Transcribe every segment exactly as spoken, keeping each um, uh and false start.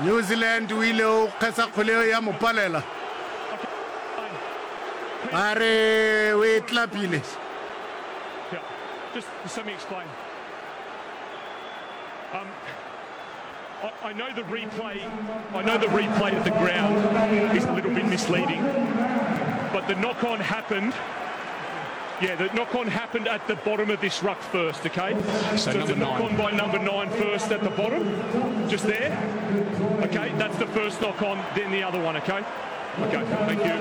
New Zealand o ile o kgesa kgwele eo ya mo palela. Ba re o e tlapile. Yeah, just, just let me explain. Um, I, I know the replay. I know the replay at the ground is a little bit misleading, but the knock-on happened. Yeah, the knock-on happened at the bottom of this ruck first. Okay, So so it's a number nine. knock-on by number nine first at the bottom, just there. Okay, that's the first knock-on. Then the other one. Okay. Okay, thank you.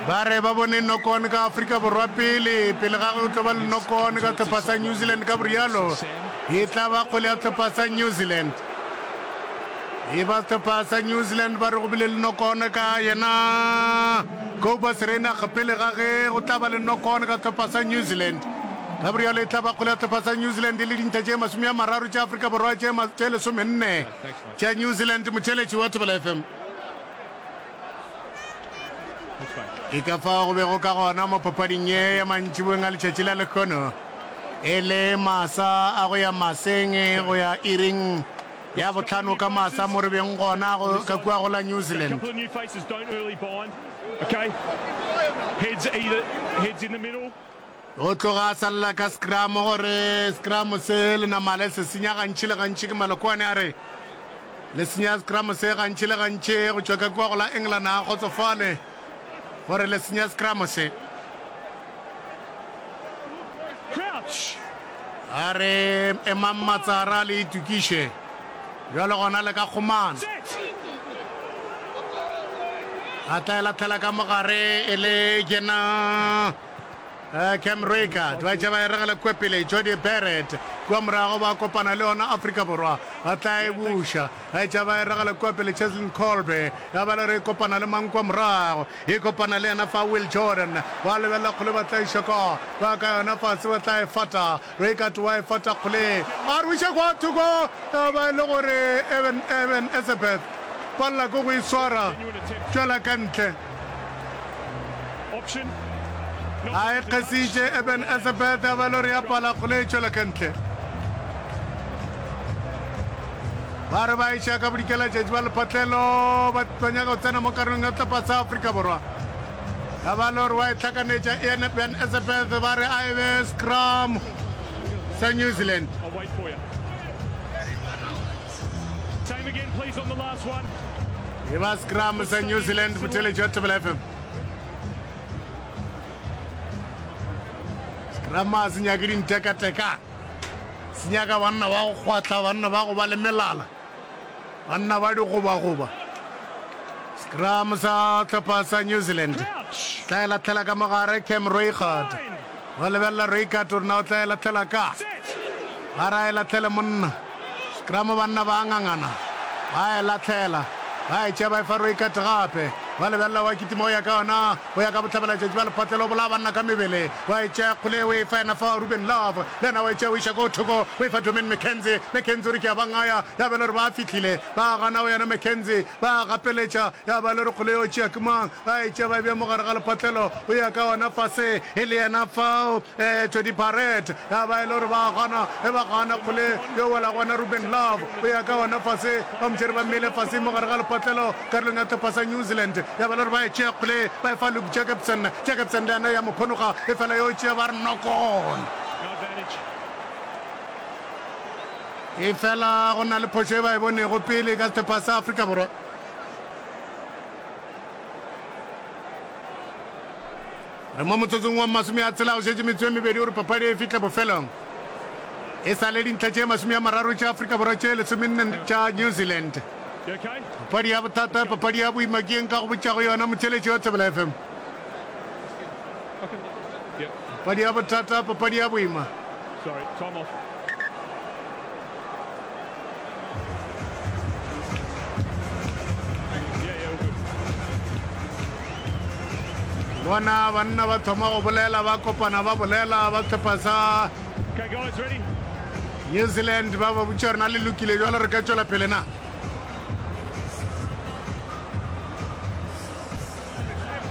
Ba re ba bone knock-on ka Afrika Borwa pele, pele ga go tlo ba le knock-on ka sehlopha sa New Zealand ka borialo. E tla ba kgwele ya sehlopha sa New Zealand. E ba sehlopha sa New Zealand ba re go bile le knock-on ka yena Cobus Reinach pele ga ge go tla ba le knock-on ka sehlopha sa New Zealand. Ka borialo e tla ba kgwele ya sehlopha sa New Zealand e le dintlha tše masome a mararo tša Afrika Borwa tše ma- tše lesomenne tša New Zealand motšheletši wa Thobela F M. Ke ka fao go bego ka gona mo papading ye ya mantšiboeng a letšatši la lehono, e le masa a go ya maseng go ya iring ya bohlano ka masa mo re beng gona go ka kua go la New A Zealand. couple of new faces don't early bind. Okay. Heads either heads in the middle. O tloga a salela ka scrum gore scrum se le namale se senya gantši le gantši ke Malokwane a re le senya scrum se gantši le gantši go tšwa ka kua go la England a kgotsofale gore le senya scrum se. Crouch. A re emang matsara le itokiše bjalo gona le ka kgomana. Set. A tla e latlhela ka mogare e le yena eh, Cam Roigard ba tša ba e regela kua pele Jody Barrett kua morago ba kopana le yona Afrika Borwa ba tla e buša ba tša ba e regela kua pele Cheslin Kolbe ya ba le re e kopana le mang kua morago e kopana le yena fa Will Jordan ba lebelela kgole ba tla iša ka ba ka yona fase ba tla e fata Roigard wa e fata kgole a re iša kwa thoko ya ba e le gore Eben Eben Etzebeth palela ke go e swara Genuine attempt. tšwela ka ntle Option. a e kgesitše Eben Etzebeth ya ba le gore ya pala kgole e tšwela ka ntle ba re ba iša ka bodikelatšatši ba lephatlelo ba ba nyaka go tsena mo karolong ya sehlopha sa Afrika Borwa ya ba le gore wa e hlakanetša Eben Etzebeth ba re a e be scrum sa New Zealand I'll wait for you. Same again, please, on the last one. e ba scrum sa New Zealand motheletši wa Thobela F M scrum a se nyake dintekateka se nyaka banna ba go kgwatla banna ba go ba le melala banna ba digobagoba scrum sa hlopha sa New Zealand Crouch. tla e latlhela ka mogare Cam Roigard Nine. ba lebelela Roigard gore na o tla e latlhela ka Set. ba ra e latlhele monna scrum banna ba ngangana ba e latlhela ba e tšea ba e fa Roigard gape ba lebelela wa kitima o ya ka yona o ya ka bohlabelatšatši ba lephatlelo o bolaya banna ka mebele wa e tšea kgole o e fa yena fa Ruben Love le yena wa e tšea o iša ko thoko o e fa Domain McKenzie McKenzie o re ke a ba ngaya ya ba le gore ba fihlile ba gana o yena McKenzie ba gapeletša ya ba le gore kgole yo tšea ke mang ba e tšea ba e bea mo gare ga lephatlelo o ya ka yona fase e le yena fao eh, Jody Barrett ya ba e le gore ba gana e ba gana kgole yo wela gona Ruben Love o ya ka yona fase ba motšhere ba mmele fase mo gare ga lephatlelo karolong ya tlhopha sa New Zealand ya ba le gore ba e tšea kgole ba e fa Luke Jacobson Jacobson le yena ya mo phonoga e fela yo tšea ba re knock-on No advantage. e fela go na le phošo e ba e bonego pele ka sehlopha sa Afrika Borwa re mo motsotsong wa masome a tshela go šetše metsotso e mebedi gore papadi e fihle bofelong e sa le dintlha tše masome a mararo tša Afrika Borwa tše lesomenne tša New Zealand You okay? papadi ya bothata papadi ya boima ke eng ka go botšago yona motheletši wa Thobela F M Okay. Yep. papadi ya bothata papadi ya boima Sorry. Time off. Yeah, yeah, all good. bona banna ba thoma go bolela ba kopana ba bolela ba sehlopha sa Okay, guys, ready? New Zealand ba ba botša gore na le lokile jalo re ka tšwela pele na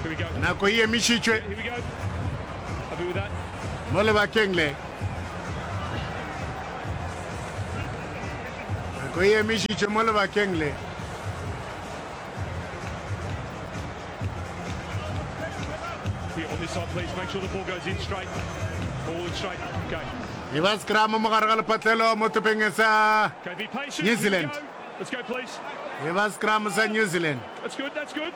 Here we go. nako e emišitšwe Here we go. Happy with that? mo lebakeng le nako e emišitšwe mo lebakeng le Here on this side, please. Make sure the ball goes in straight. Ball in straight. Okay. E ba scrum mo gare ga lepatlelo mo topeng sa Okay, be patient. New Here we Zealand. go. Let's go, please. E ba scrum sa New Zealand. That's good. That's good.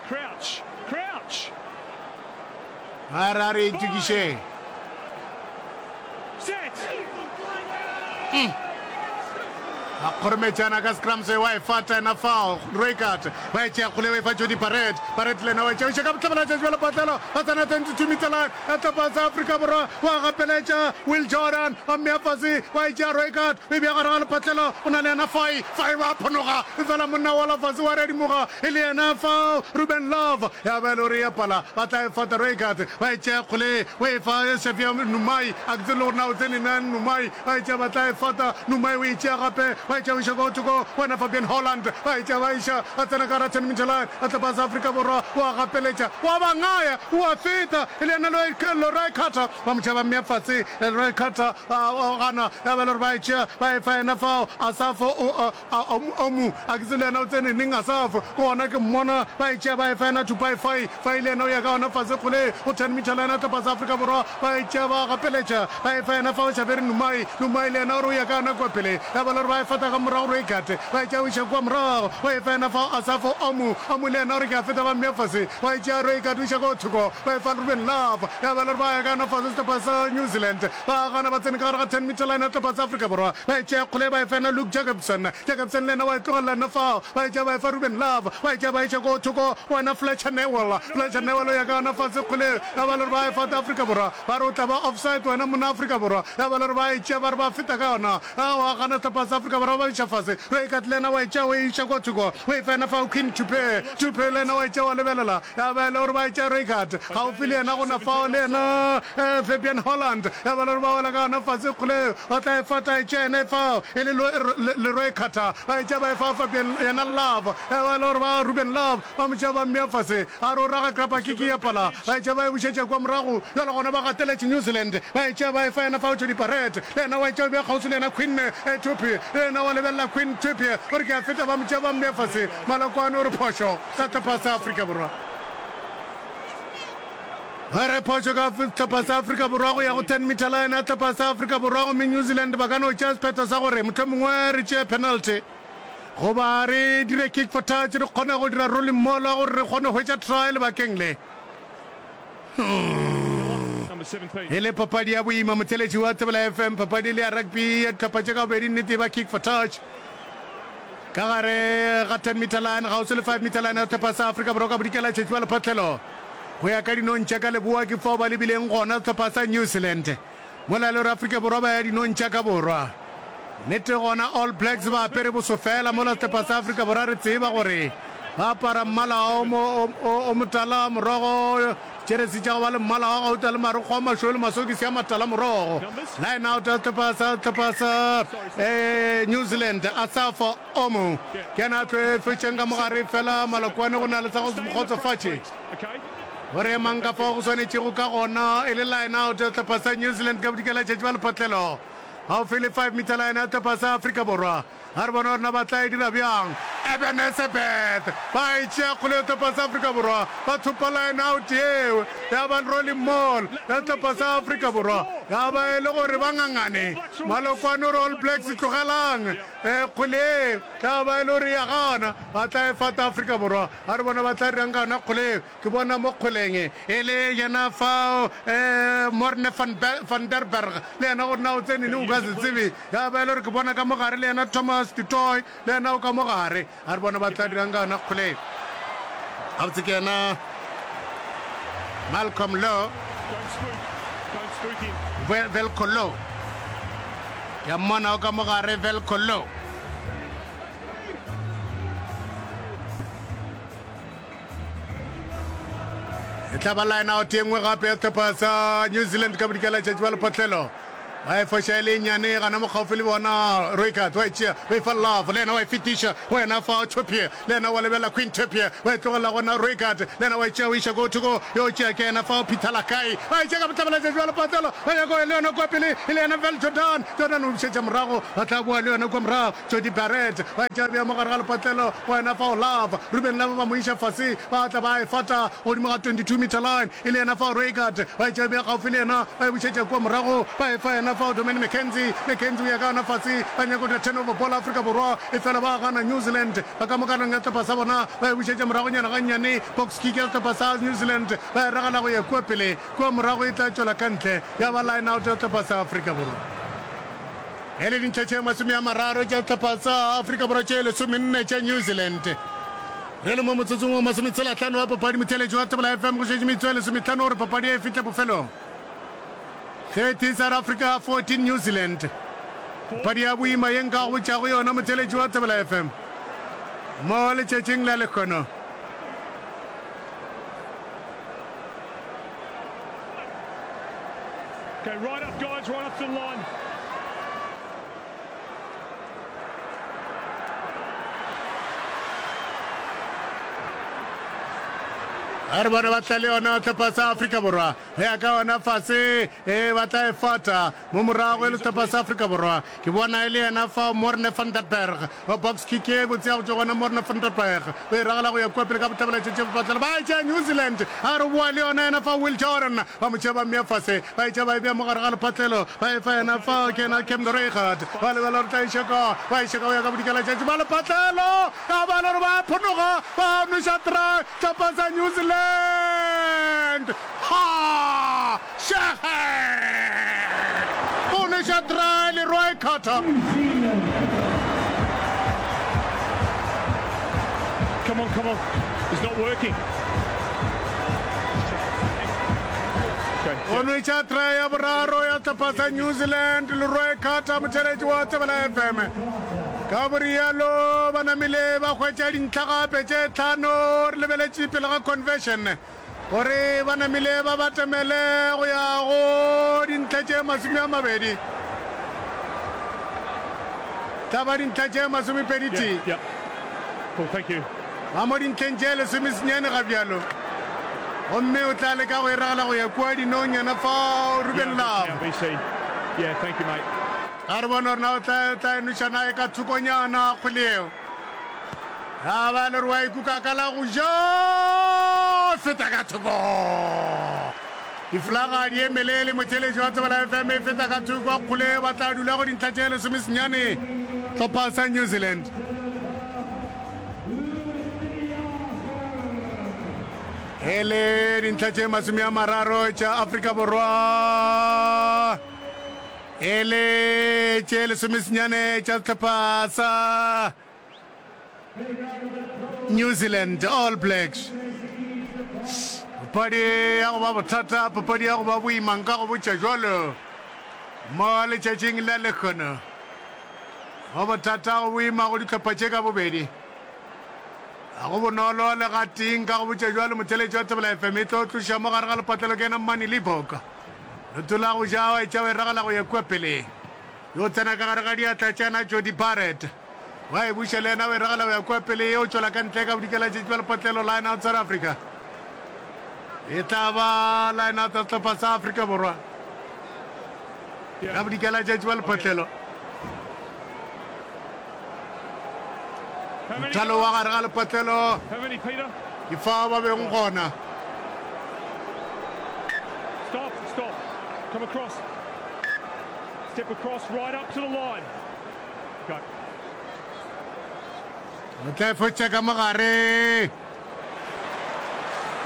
Crouch. Crouch. Ba re a re itokišeng. Set. A kgorometšana ka scrum se wa e fata ena fao Roycart ba e tšea kgole ba e fa Jody Barrett. Barrett le yena wa e tšea o iša ka bohlabela tšatši ba lepatlelo ba tsena twenty-two meter line ya tlapa sa Afrika Borwa wa gapeletša Will Jordan ba mmea fase wa e tšea Roycart o e bea gare ga lepatlelo o na le yena Fai Fai wa phonoga efela monna wa la fase wa redimoga e le yena fao Ruben Love ya ba e le gore ya pala ba tla e fata Roycart ba e tšea kgole o e fa Xavier Numai a ke tsebe le gore na o tsene na Numai ba e tšea ba tla e fata Numai o e tšea gape ba e tšea o iša ko thoko wena Fabian Holland ba e tšea ba iša ba tsena ka gara ten meter line a tlepa sa Afrika Borwa wa gapeletša wa ba ngaya wa feta e le yena Leroy Carter ba mo tšea ba mmea fase Leroy Carter o gana ya ba le gore ba e tšea ba e fa yena fao Asafo Omu a ke tsebe le yena o tsene neng Asafo ke gona ke mmona ba e tšea ba e fa yena Tupai Fai Fai le yena o ya ka gona fase kgole go ten meter line a tlepa sa Afrika Borwa ba e tšea ba gapeletša ba e fa yena fao Xavier Numai Numai le yena o re o ya ka yona kua pele ya ba le gore ba e fata ka morago gore e gate ba e tšea o iša kua morago o e fa yena fao Asafo Omu Omu le yena o re ke a feta ba mmea fase wa e tšea re e gate o iša ko thoko ba e fa Ruben Love ya ba le gore ba ya ka yona fase sehlopha sa New Zealand ba gana ba tsene ka gare ga ten meter line ya sehlopha sa Afrika Borwa ba e tšea kgole ba e fa yena Luke Jacobson Jacobson le yena wa e tlogelela yena fao ba e tšea ba e fa Ruben Love ba e tšea ba iša ko thoko wena Fletcher Newell Fletcher Newell o ya ka yona fase kgole ya ba le gore ba e fata Afrika Borwa ba re o tla ba offside wena monna Afrika Borwa ya ba le gore ba e tšea ba re ba feta ka yona wa gana sehlopha sa Afrika Borwa ba iša fase re ka le yena wa e tšea o e iša kwa thoko o e fa yena fao Queen Tupe Tupe le yena wa e tšea wa lebelela ya ba le gore ba e tšea Reichardt gaufi le yena gona fao le yena Fabian Holland ya ba le gore ba wela ka yona fase kgole ba tla e fata e tšea yena e fao e le Leroy Carter ba e tšea ba e fa Fabian yena Love ya ba le gore ba Ruben Love ba mo tšea ba mmea fase a re o raga krapa kiki ya pala ba e tšea ba e bušetša kwa morago jalo gona ba gateletše New Zealand ba e tšea ba e fa yena fao Jody Barrett le yena wa e tšea o bea kgauswi le yena Queen Tupi le yena wa lebelela Queen Tupi o re ke a feta ba mo tšea ba mmea fase Malokwane o re phošo ka sehlopha sa Afrika Borwa ba re phošo ka sehlopha sa Afrika Borwa go ya go ten meter line ya sehlopha sa Afrika Borwa gomme New Zealand ba ka no tšea sephetho sa gore mohlomongwe re tšee penalty goba re dire kick for touch re kgone go dira rolling mola gore re kgone go hwetša try lebakeng le. E le papadi ya boima motheletši wa Thobela F M papadi le ya rugby ya dihlopha tše ka bobedi nnete e ba kick for touch ka gare ga ten meter line kgauswi le five meter line ya sehlopha sa Afrika Borwa ka bodikela tšhetši ba lephatlelo go ya ka dinong tša ka leboa ke fao ba lebileng gona sehlopha sa New Zealand mola e le gore Afrika Borwa ba ya dinong tša ka borwa. Nnete gona All Blacks ba apere boso fela mola sehlopha sa Afrika Borwa re tseba gore ba apara mmala o, o, o, o motala morogo, jeresi tša go ba le mmala wa gauta le marokgo a mašweu le masokisi a matala morogo. Line out ya sehlopha sa sehlopha sa eh, New Zealand Asafo Omo ke yena a tlo e fetšeng ka mogare fela Malokwane go na le sa go se mo kgotsofatše gore emang ka fao go swanetšego ka gona e le line out ya sehlopha sa New Zealand ka bodikela tšatši ba lephatlelo gaufi le five meter line ya sehlopha sa Afrika Borwa. A re bone gore na ba tla e dira bjang. Eben Etzebeth ba e tšea kgole ya sehlopha sa Afrika Borwa, ba thopa line out yeo ya ba rolling maul ya sehlopha sa Afrika Borwa, ya ba e le gore ba ngangane. Malokwane o re All Blacks tlogelang kgwele ye, ya ba e le gore ya gana, ba tla e fata Afrika Borwa. A re bone ba tla dirang ka yona kgwele yeo. Ke bona mo kgweleng e le yena fao Morne van, van der Berg le yena gore na o tsene neng o ka se tsebe. Ya ba e le gore ke bona ka mo gare le yena Thomas du Toit le yena o ka mo gare. A re bona ba tla dirang ka yona kgwele. Gabotse ke yena Malcolm Lowe, Velco Lowe. Ke a mmona o ka mo gare Velco Lowe. E tla ba line out ye nngwe gape ya sehlopha sa New Zealand ka bodikela tšatši ba lephatlelo Ba e foša e le e nnyane gana mo kgaufsi le bona. Roykart wa e tšea, o e fa Love, le yena wa e fetiša go yena fa Topie, le yena wa lebelela Queen Topie, wa e tlogelela gona Roykart, le yena wa e tšea o iša ko thoko, yo tšea ke yena fa Peter Lakai, ba e tšea ka bohlabela bja lepatlelo, ba nyaka go ya le yona kua pele, e le yena Val Jordan, Jordan o bušetša morago, ba tla boa le yona kua morago, Jody Barrett ba e tšea bea mo gare ga lepatlelo go yena fao Love, Ruben Love ba mo iša fase, ba tla ba e fata godimo ga twenty two meter line, e le yena fao Roykart, ba e tšea bea kgaufsi le yena, ba e bušetša kua morago, ba e fa yena fao Domaine McKenzie, McKenzie o ya ka yona fase, ba nyaka go dira turnover ball Afrika Borwa, efela ba gana New Zealand, ba ka mo karolong ya sehlopha sa bona, ba e bušetša moragonyana gannyane, box kick ya sehlopha sa New Zealand, ba e ragela go ya kua pele, kua morago e tla tšwela ka ntle, ya ba line out ya sehlopha sa Afrika Borwa. E le dintlha tše masome a mararo tša sehlopha sa Afrika Borwa tše lesomenne tša New Zealand. Re le mo motsotsong wa masometshela-hlano wa papadi, motheeletši wa Thobela F M go šetše metsotso e lesomehlano gore papadi e fihle bofelong. thirty South Africa, fourteen New Zealand. Papadi ya boima ye nka go botšago yona motheeletši wa Thobela F M mo letšatšing la lehono. Okay, right up, guys, right up to the line. A re bone ba tla le yona sehlopha sa Afrika Borwa ge ya ka yona fase e ba tla e fata mo morago e le sehlopha sa Afrika Borwa. Ke bona e le yena fao Morne van der Berg wa box kick e botse ya go tšwa gona Morne van der Berg o e ragela go ya kua pele ka bohlabela tšetše bopatlelo ba e tšea New Zealand a re boa le yona yena fao Will Jordan ba mo tšea ba mmea fase ba e tšea ba e bea mo gare ga lepatlelo ba e fa yena fao ke yena Cam Roigard ba lebela gore tla e šeka ba e šeka go ya ka bodikela tšatši ba lepatlelo ka ba le gore ba phonoga ba nweša try sehlopha sa New Zealand ha šege o nweša try Leroy Carter. Come on, come on. It's not working. O nwetša try ya boraro ya sehlopha sa New Zealand Leroy Carter motheeletši wa Thobela F M. Ka borialo ba namile ba hwetša dintlha gape tše tlhano re lebeletše pele ga conversion gore ba namile ba batamele go ya go dintlha tše masome a mabedi tla ba dintlha tše masomepedi tee. Yeah, yeah. Cool, thank you. Ba mo dintlheng tše lesomesenyane ga bjalo gomme o tla leka go e ragela go ya kua dinong yena fao Ruben Yeah, Love. now, B C. Yeah, thank you, mate. Ga re bone gore na o tla tla e noša na e ka thokonyana kgwele yeo. Ya ba le gore wa ikuka ka la go ja feta ka thoko. Difolaga di emelele motheeletši wa Thobela F M e feta ka thoko kgole ba tla dula go dintlha tše lesomesenyane hlopha sa New Zealand. E le dintlha tše masome a mararo tša Afrika Borwa e le tše lesomesenyane tša sehlopha sa New Zealand All Blacks. Papadi ya go ba bothata, papadi ya go ba boima nka go botša jwalo mo letšatšing la lehono. Go bothata go boima go dihlopha tše ka bobedi. Ga go bonolo le gatee nka go botša jwalo motheeletši wa Thobela F M e tlo tloša mo gare ga lepatlelo ke yena Mmane Libbok. Leoto la go ja wa etša wa e ragela go ya kua pele. Yo tsena ka gare ga diatla tša yena Jody Barrett. Wa e buša le yena wa e ragela go ya kua pele yo tšwela ka ntle ka bodikela tšetši bja lepatlelo line out South Africa. E tla ba line out ya sehlopha sa Afrika Borwa. Ka bodikela tšatši bja lepatlelo. How many Mothalo wa gare ga lepatlelo How many, Peter? Ke fao ba bego gona. Stop, stop. Come across. Step across right up to the line. Go. O tla e fotša ka mogare.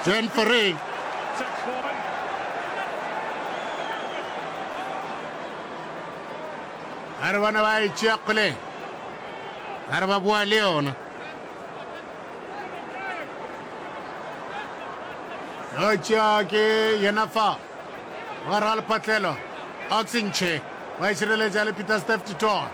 Jan Fourie. Sack's fine. A re bona ba e tšea kgole. A re ba boa le yona. Yo tšea ke yena fa. Wa ra lepatlelo. Oxenche. Wa e šireletša le Peter Steph Tito.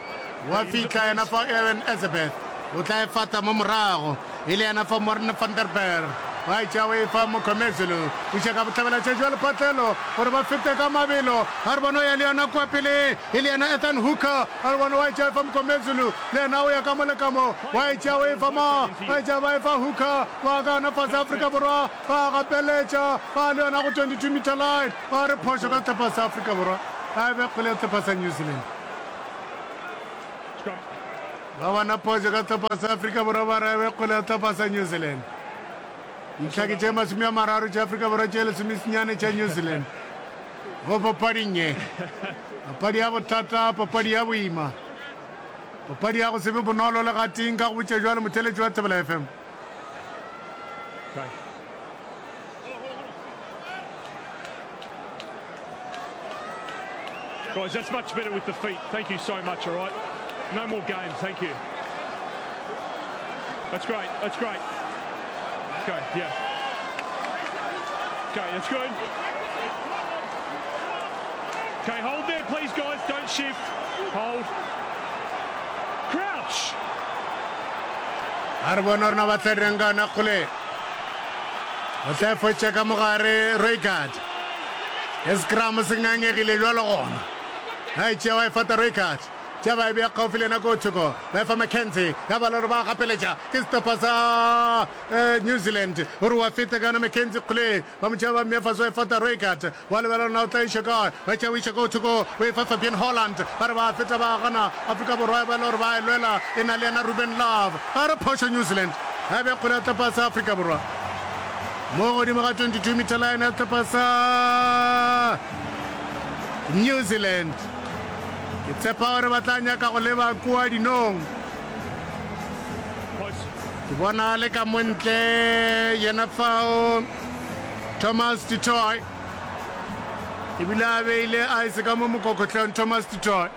Wa fihla yena fa Aaron Elizabeth. O tla e fata mo morago. E le yena fa Morne van der Berg. Wa e tšea o e fa Mokhomezulu. Buša ka bohlabelatšatši bja lepatlelo gore ba fete ka mabelo. A re bone o ya le yona kua pele e le yena Ethan Hooker. A re bone wa e tšea o e fa Mokhomezulu. Le yena o ya ka mo le ka mo. Wa e tšea o e fa ma. Wa e tšea ba e fa Hooker. Ba ka yona fase Afrika Borwa. Ba gapeletša. Ba le yona go twenty-two meter line. Ba re phošo ka sehlopha sa Afrika Borwa. A e be kgwele ya sehlopha sa New Zealand. Ba bona phošo ka sehlopha sa Afrika Borwa ba re e be kgwele ya sehlopha sa New Zealand. Dintlha ke tše masome a mararo tša Afrika Borwa tše lesomesenyane tša New Zealand go papading ye. Papadi ya bothata, papadi ya boima, papadi ya go se be bonolo le gatee nka go botša bjalo motheeletši wa Thobela F M. Guys, that's much better with the feet. Thank you so much, all right? No more games, thank you. That's great, that's great. Okay, yeah. Okay, that's good. Okay, hold there, please, guys. Don't shift. Hold. Crouch. A re bone rena ba tla dirang ka yona kgole. O tla e fotša ka mogare Roykard. E scrum se ngangegile bjalo gona. A e tšea wa e fata Roykard. Tša ba e bea kgaufsi le yena ko thoko. Ba e fa McKenzie. Ya ba le gore ba gapeletša ke sehlopha sa eh, New Zealand. Gore wa feta ka yona McKenzie kgole. Ba mo tšea ba mmea fase wa e fata Roykard. Wa lebelela na o tla iša kae. Ba tšea o iša ko thoko. O e fa Fabian Holland. Ba re ba feta ba gana. Afrika Borwa e ba le gore ba e lwela. E na le yena Ruben Love. Ba re phošo New Zealand. A be kgole ya sehlopha sa Afrika Borwa. Mo godimo ga twenty-two meter line ya sehlopha sa New Zealand. Ke tshepa gore ba tla nyaka go leba kua dinong. Ke bona le ka mo ntle yena fao Thomas du Toit. Ebile a beile ice ka mo mokokotlong Thomas du Toit.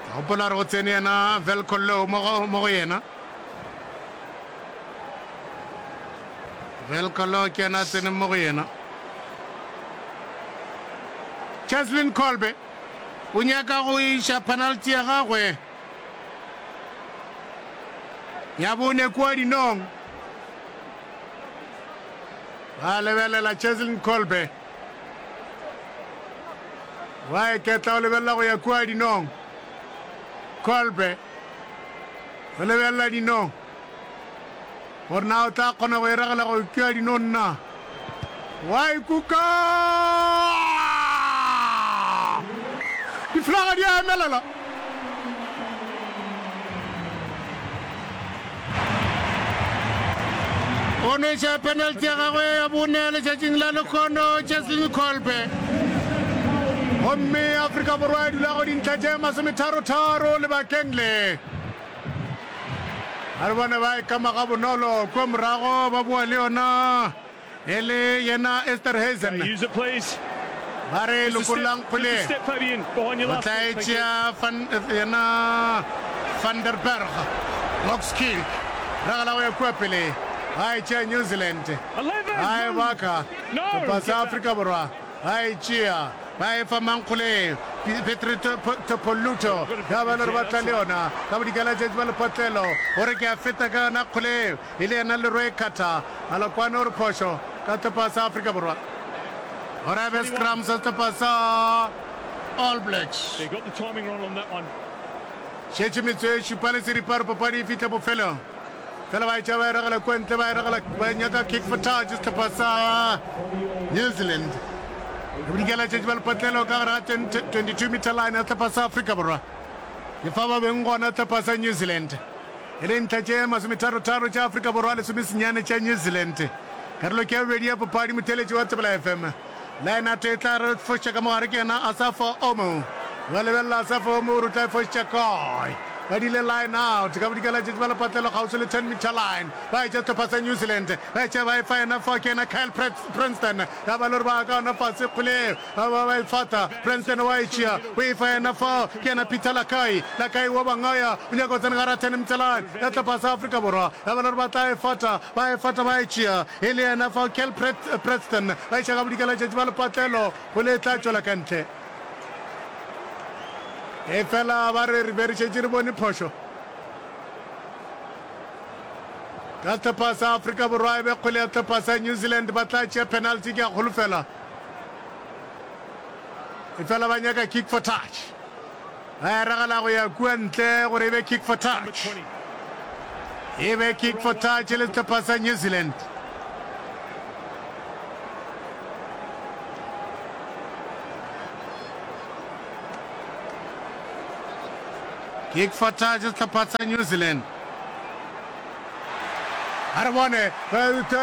Ke gopola gore go tsene yena Velco Low mo go, mo go yena. Velco Low ke yena a tseneng mo go yena. Cheslin Kolbe o nyaka go iša penalty ya gagwe ya bone kua dinong. Ba lebelela Cheslin Kolbe. Wa iketla o lebelela go ya kua dinong. Kolbe o lebelela dinong. Gore na o tla kgona go e ragela go kua dinong na? Wa ikuka! Diflaga di a emelela. O nweša penalty ya gagwe ya bone letšatšing la lekhono Cheslin Kolbe. Gomme Afrika Borwa e dula go dintlha tše masometharo-tharo lebakeng le. A re bone ba e kama gabonolo kua morago ba boa le yona e le yena Esterhuizen. Use it, please. Ba re Just a step, lokollang just a kgwele. step, Fabian, behind your O last tla e foot. Thank you. tšea Van, yena Van der Berg. Box kick. Ragela go ya kua pele. Ba e tšea New Zealand. Eleven. Ba e baka. No, Sehlopha sa get back. Afrika Borwa ba e tšea. Ba e fa mankgoleng. Petri Topoluto ya ba le gore ba tla le yona ka bodikela tšatši ba lepotlelo gore ke a feta ka yona kgoleng e le yena Leroy Carter Malokwane o re phošo ka sehlopha sa Afrika Borwa gore a be scrum sa sehlopha sa All Blacks. They got the timing wrong on that one. Šetše metsotso e šupa le seripa gore papadi e fihle bofelong. Fela ba etša ba e ragela kua ntle, ba e ragela ba nyaka kick for touch sehlopha sa New Zealand. Bodikela tšatši ba lepotlelo ka gare ga twenty-two meter line ya sehlopha sa Afrika Borwa. Ke fa ba beng gona sehlopha sa New Zealand. E le ntlha tše masometharo-tharo tša Afrika Borwa lesomesenyane tša New Zealand. Karolo ke ya bobedi ya papadi motheeletši wa Thobela F M. Line-out e tla re foša ka mogare ke yena Asafo Omo. Ba lebelela Asafo Omo gore o tla e fošetša kae. Ba dile line-out ka bodikela tšatši ba lepatlelo kgauswi le ten meter line. Ba etša sehlopha sa New Zealand. Ba etša ba e fa yena fa ke yena Kyle Princeton. Ya ba le gore ba ka yona fase kgwele ba ba ba e fata. Princeton wa e tšea o e fa yena fa ke yena Peter Lakai. Lakai wa bangaya o nyaka go tsena gare ga ten meter line ya sehlopha sa Afrika Borwa. Ya ba le gore ba tla e fata ba e fata ba e tšea. E le yena fa Kyle Preston ba iša ka bodikela tšatši ba lepatlelo kgwele e tla tšwela ka ntle. Efela ba re re be re šetše re bone phošo. Ka sehlopha sa Afrika Borwa e be kgwele ya sehlopha sa New Zealand, ba tla tšea penalty ke a kgolofela. Efela ba nyaka kick for touch. Ba e ragela go ya kua ntle gore e be kick for touch. E be kick for touch le sehlopha sa New Zealand. Kick for touch sehlopha sa New Zealand. A re bone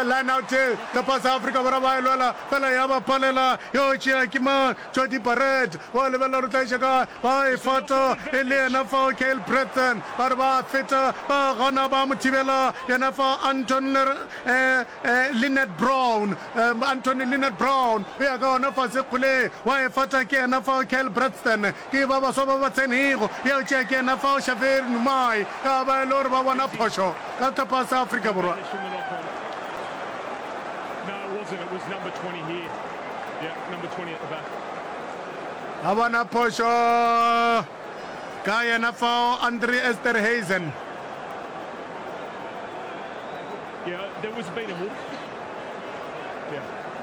line out sehlopha sa Afrika Borwa ba e lwela fela ya ba palela yo tšea ke mang Jody Barrett wa lebelela gore o tla iša kae ba e fata e le yena fao Kyle Bretson ba re ba feta ba gana ba mo thibela yena fa Anton eh, eh, Lynette Brown eh, Anthony Lynette Brown o ya ka gona fase kgole wa e fata ke yena fao Kyle Braxton ke ba baswa ba ba tsenego ya tšea ke yena fao Xavier Numai ka ba e le gore ba bona phošo ka sehlopha sa Afrika Borwa. Ba bona phošo ka yena fao Andre Esterhuizen.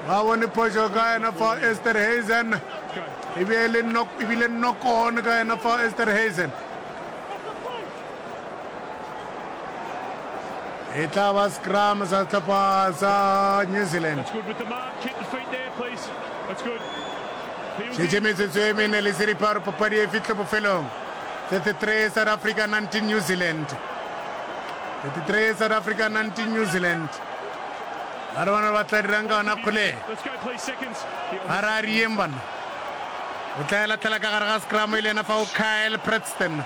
Ba bone phošo ka yena fa Esterhuizen. E be le knock, e bile knock on ka yena fa Esterhuizen. E tla ba scrum sa sehlopha sa New Zealand. Šetše metsotso e mene le seripa gore papadi e fihle bofelong. thirty-three South Africa, nineteen New Zealand. thirty-three South Africa, nineteen New Zealand. Ba re bona ba tla dirang ka ona kgole. Ba re a rieng bana. O tla e latlhela ka gare ga scrum e le yena fao Kyle Preston.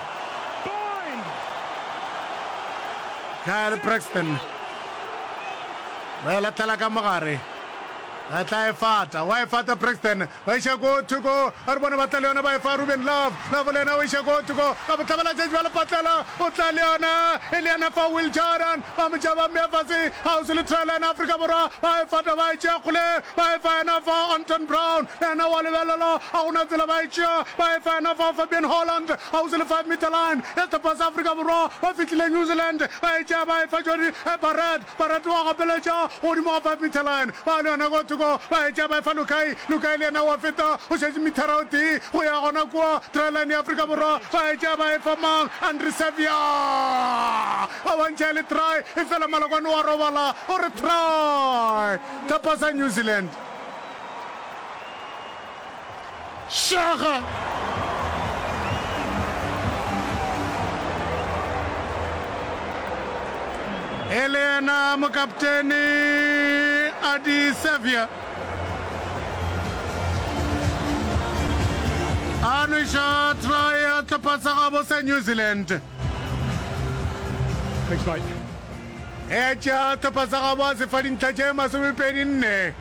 Kyle Preston. Ba e latlhela ka mogare. Ba tla e fata. Wa e fata Preston. Ba iša ko thoko, a re bone ba tla le yona, ba e fa Ruben Love. Love le yena o iša ko thoko, ka bohlabelatšatši ba lepatlela, o tla le yona, e le yena fa Will Jordan, ba mo tšea ba mmea fase, kgauswi le try line Afrika Borwa, ba e fata ba e tšea kgole, ba e fa yena fa Anton Brown, le yena wa lebelela, ga go na tsela ba e tšea, ba e fa yena fa Fabian Holland, kgauswi le five meter line ya sehlopha sa Afrika Borwa, ba fihlile New Zealand, ba e tšea ba e fa Jody Barrett. Barati wa gapeletša godimo ga five meter line, ba le yona ko thoko, ba e tšea ba e fa Lukai, Lukai le yena wa feta, o šetše mithara o tee go ya gona kua try line ya Afrika Borwa, ba e tšea ba e fa mang, Andre Savia, ba bontšha e le try, efela Malokwane wa robala, o re try, tlhopha sa New Zealand. Šaga! E le yena mokaptene Adi Savia a nweša try ya hlopha sa gabo sa New Zealand. Thanks, mate. E tšea hlopha sa gabo a se fa dintlha tše masomepedi nne.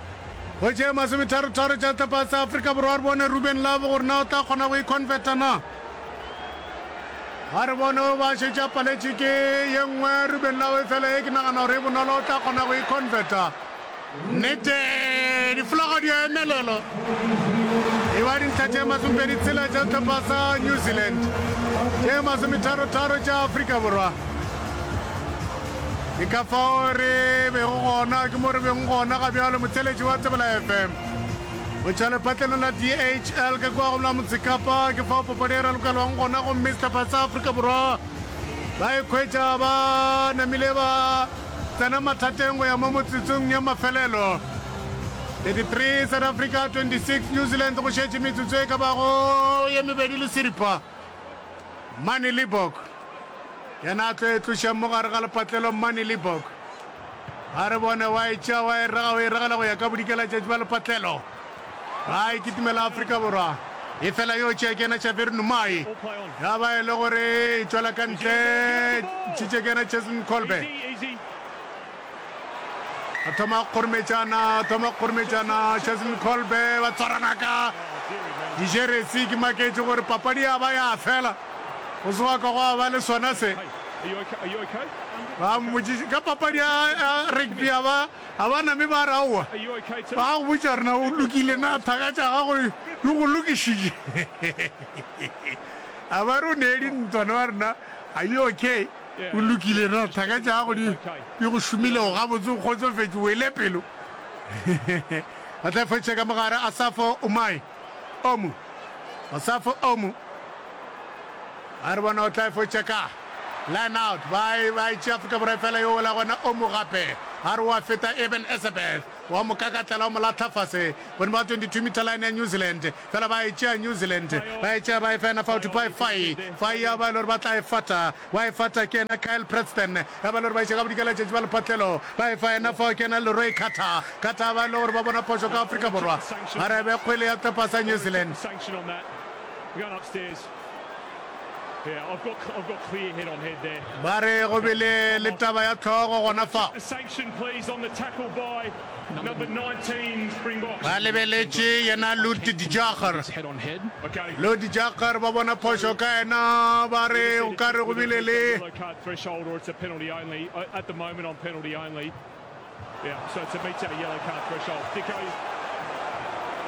Go tše masometharotharo tša sehlopha sa Afrika Borwa re bone Ruben Love gore na o tla kgona go e converta na. Ga re bone o ba šetše a paletše ke ye nngwe Ruben Love efela ye ke nagana gore e bonolo o tla kgona go e converta. Nnete difolaga di a emelela. E ba dintlha tše masomepedi tshela tša sehlopha sa New Zealand, tše masometharotharo tša Afrika Borwa. Ke ka fao re bego gona, ke mo re beng gona ga bjalo, motheeletši wa Thobela F M. Go tšwa lepatlelong la D H L ka kua go la Motsekapa, ke fao papadi e ralokelwang gona gomme sehlopha sa Afrika Borwa ba ikhwetša ba namile ba tsena mathateng go ya mo motsotsong ya mafelelo. thirty-three South Africa, twenty-six New Zealand, go šetše metsotso e ka bago ye mebedi le seripa. Manie Libbok yena a tlo e tloša mo gare ga lepatlelo. Manie Libbok a re bone wa e tšea wa e raga o e ragela go ya ka bodikelatšatši ba lepatlelo. Ba e kitimela Afrika Borwa e fela yo tšea ke yena Xavier Numai ya ba e le gore e tšwela ka ntle ntšhitše ke yena Cheslin Kolbe. A thoma go kgorometšana, a thoma go kgorometšana, Cheslin Kolbe ba tshwarana ka dijeresi. Ke maketše gore papadi ya ba ya fela go se wa ka gwa ba le sona se. Ba mmotšiše ka papadi ya rugby a ba a ba name ba re aowa. Ba go botša gore na o lokile na thaka tša gago di go lokišitše. A ba re o nee dintwa na ba re na are you okay? O lokile na thaka tša gago di di go šomilego gabotse o kgotsofetše o ele pelo. Ba tla fetša ka mogare Asafo Umai Omu. Asafo Omu. A re bona o tla fetša ka line out ba e ba e tšea Afrika Borwa fela yo wela gona Omu gape. A re wa feta Eben Etzebeth wa mo kakatlela wa mo lahla fase godimo ga twenty-two meter line ya New Zealand. Fela ba e tšea New Zealand ba e tšea ba e fa yena fao Tupai Fai. Fai ya ba e le gore ba tla e fata wa e fata ke yena Kyle Preston ya ba e le gore ba iša ka bodikela tšatši ba lepatlelo ba e fa yena fao ke yena Leroy Carter. Carter ba e le gore ba bona phošo ka Afrika Borwa ba re be kgwele ya sehlopha sa New Zealand. Ba re go bile le taba ya hlogo gona fao. Ba lebeletše yena Lood de Jager. Lood de Jager ba bona phošo ka yena, ba re o ka re go bile le.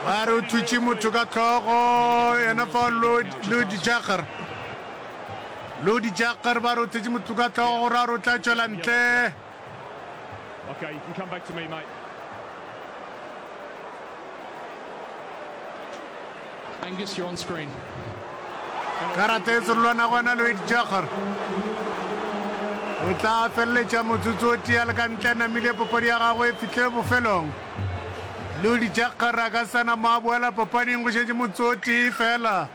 Ba re o thutše motho ka hlogo, yena fao Lood, Lood Jager. Lood Jager ba re o thutše motho ka hlogo gore a re o tla tšwela ntle. Okay, you can come back to me, mate. Angus, you're on screen. Karata e serolwana gona Lloyd Jagger o tla feleletša motsotso o tee a le ka ntle a namile papadi ya gagwe e fihle bofelong. Lloyd Jagger a ka sa na mo a boela papading go šetše motsotso o tee fela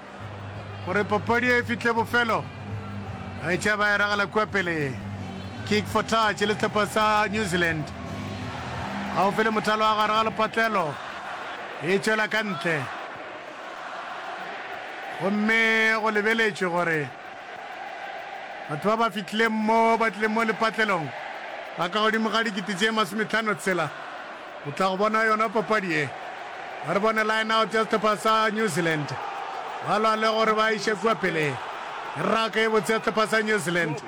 gore papadi e fihle bofelo. Ba e tšea ba e ragela kua pele. Kick for touch le sehlopha sa New Zealand. Gaufi le mothalo wa gare ga lepatlelo e tšwela ka ntle. Gomme go lebeletšwe gore batho ba ba fihlileng mo ba tlileng mo lepatlelong ba ka godimo ga dikete tše masometlhano tshela go tla go bona yona papadi ye. Ba re bone line out ya sehlopha sa New Zealand ba lwa le gore ba iše kua pele. Raka e botse ya sehlopha sa New Zealand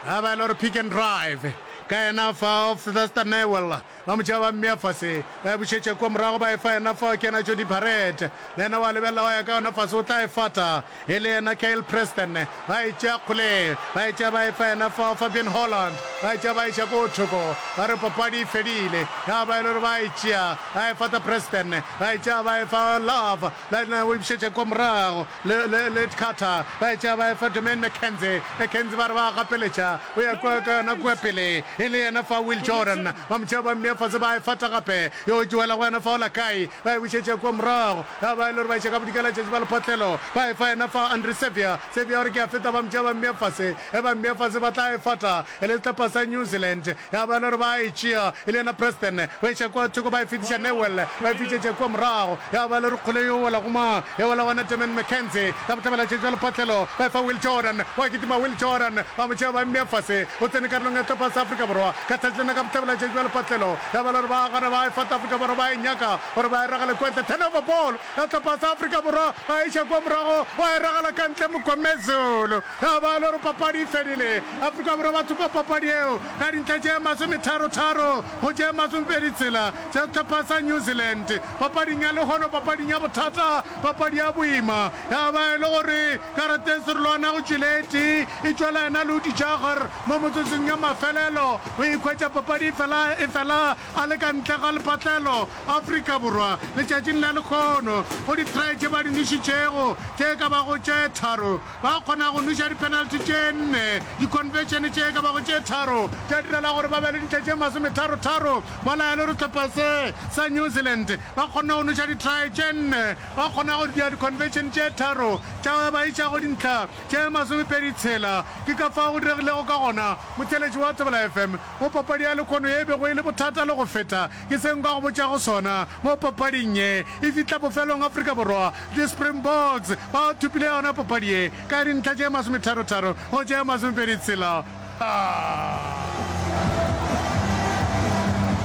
ba ba e le gore pick and drive ka yena fao Sylvester Newell Ba mo tšea ba mmea fase, ba e bušetša kua morago, ba e fa yena fao, ke yena Jody Barrett. Le yena wa lebelela, wa ya ka yona fase, o tla e fata. E le yena Kyle Preston. Ba e tšea kgole, ba e tšea ba e fa yena fao, Fabian Holland. Ba e tšea ba e iša ko thoko, ba re papadi e fedile. Ya ba e le gore ba e tšea, ba e fata Preston, ba e tšea ba e fa Love, le yena o e bušetša kua morago, le, le, le Carter, ba e tšea ba e fa Jermaine McKenzie. McKenzie ba re ba a gapeletša, o ya kua ka yona kua pele, e le yena fa Will Jordan. Ba mo tšea ba mmea fase, ba e fata gape, yo e tšwela go yena fa Olakai, ba e bušetša kua morago, ya ba e le gore ba iša ka bodikela tšatši ba lephotlelo, ba e fa yena fa Andre Xavier, Xavier o re ke a feta, ba mo tšea ba mmea fase, ge ba mmea fase ba tla e fata, e le sehlopha sa New Zealand, ya ba e le gore ba e tšea, e le yena Preston, ba iša kua thoko ba e fetiša Newell, ba e fitšetša kua morago, ya ba e le gore kgole yo wela go mang, e wela gona Damian McKenzie, ka bohlabela tšatši ba lephotlelo, ba e fa Will Jordan, wa kitima Will Jordan, ba mo tšea ba mmea fase, o tsene karolong ya sehlopha sa Afrika Borwa, Ka tsatši lena ka bohlabela tšatši bja lepatlelo, ya ba le gore ba gana ba e fata Afrika Borwa ba e nyaka gore ba e ragele kua ntle. Turnover ball ya sehlopha sa Afrika Borwa ba e iša kua morago wa e ragela ka ntle Mgomezulu. Ya ba le gore papadi e fedile. Afrika Borwa ba thopa papadi yeo ka dintlha tše masometharo-tharo go tše masomepedi tshela tša sehlopha sa New Zealand. Papading ya lehono, papading ya bothata, papadi ya boima, ya ba e le gore karata e serolwana go tšwele e tee e tšwela yena Ludi Jager. Mo metsotsong ya mafelelo, o ikhwetša papadi e fela e fela a le ka ntle ga lepatlelo. Afrika Borwa letšatšing la lekhono, go di-try tše ba di nwešitšego tše ka bago tše tharo, ba kgona go nweša di-penalty tše nne, di-conversion tše ka bago tše tharo tša direla gore ba be le dintlha tše masometharo-tharo. Mola e le gore sehlopha se sa New Zealand ba kgonne go nweša di-try tše nne, ba kgona go dira di-conversion tše tharo tša ba iša go dintlha Tše masomepedi tshela. Ke ka fao go diregilego ka gona, motheeletši wa Thobela F M, mo papadi ya lekhono ye e bego e le bothata le go feta. Ke se nka go botšago sona mo papading ye. E fihla bofelong Afrika Borwa, di-Springboks ba thopile yona papadi ye ka dintlha tše masometharo-tharo go tše masomepedi tshela.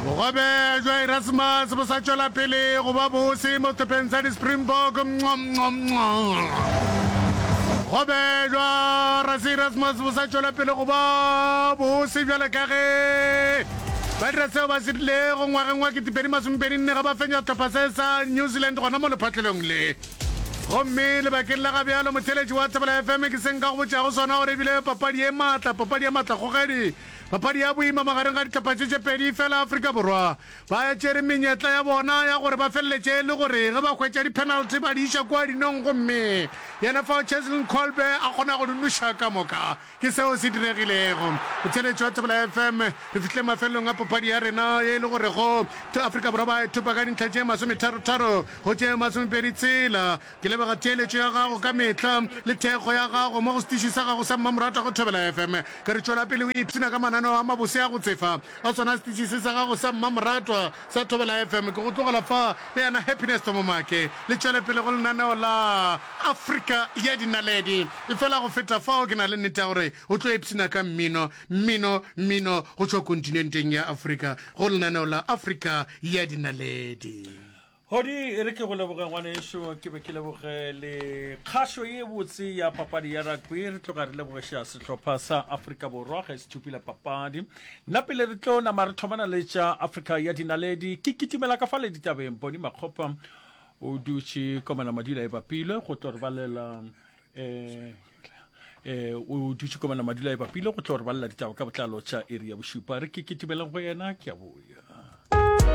Bogobe bja Erasmus bo sa tšwela pele go ba bose mo sehlopheng sa di-Springbok. Bogobe bja Rassie Erasmus bo sa tšwela pele go ba bose bjale ka ge ba dira seo ba se rilego ngwageng wa ketepedi masomepedi nne ge ba fenya sehlopha se sa New Zealand gona mo lephatlelong le. Gomme lebakeng la ga bjalo, motheeletši wa Thobela F M, ke se nka go botšago sona gore ebile papadi ye maatla, papadi ya maatlakgogedi, papadi ya boima magareng ga dihlopha tše tše pedi, fela Afrika Borwa ba tšere menyetla ya bona ya gore ba feleletše e le gore ge ba hwetša di-penalty ba di iša kua dinong gomme yena fao Cheslin Kolbe a kgona go di noša ka moka. Ke seo se diregilego. Motheeletši wa Thobela F M, re fihlile mafelelong a papadi ya rena ye e le gorego Afrika Borwa ba e thopa ka dintlha tše masometharo-tharo go tše masomepedi tshela. Ke leboga theeletšo ya gago ka mehla le thekgo ya gago mo go setiši sa gago sa mmamoratwa go Thobela F M. Ke re tšwela pele o ipshina ka mananeo a mabose a go tsefa a sona setiši se sa gago sa mmamoratwa sa Thobela F M. Ke go tlogela fa le yena Happiness Tomomake le tšwele pele go lenaneo la Afrika ya Dinaledi. Efela go feta fao ke na le nnete ya gore o tlo ipshina ka mmino, mmino, mmino go tšwa kontinenteng ya Afrika go lenaneo la Afrika ya Dinaledi. Hodi, e re ke go leboge ngwanešo, ke be ke leboge le kgašo ye botse ya papadi ya rugby. Re tloga re lebogeša sehlopha sa Afrika Borwa ge se thopile papadi. Nna pele re tlo nama re thomana le tša Afrika ya Dinaledi, ke kitimela ka fale ditabeng. Boni Makgopa o dutše komana madula e bapilwe go tlo re balela, eh, eh, o dutše komana madula e bapilwe go tlo re balela ditaba ka botlalo tša iri ya bošupa. Re ke kitimeleng go yena, ke a boya.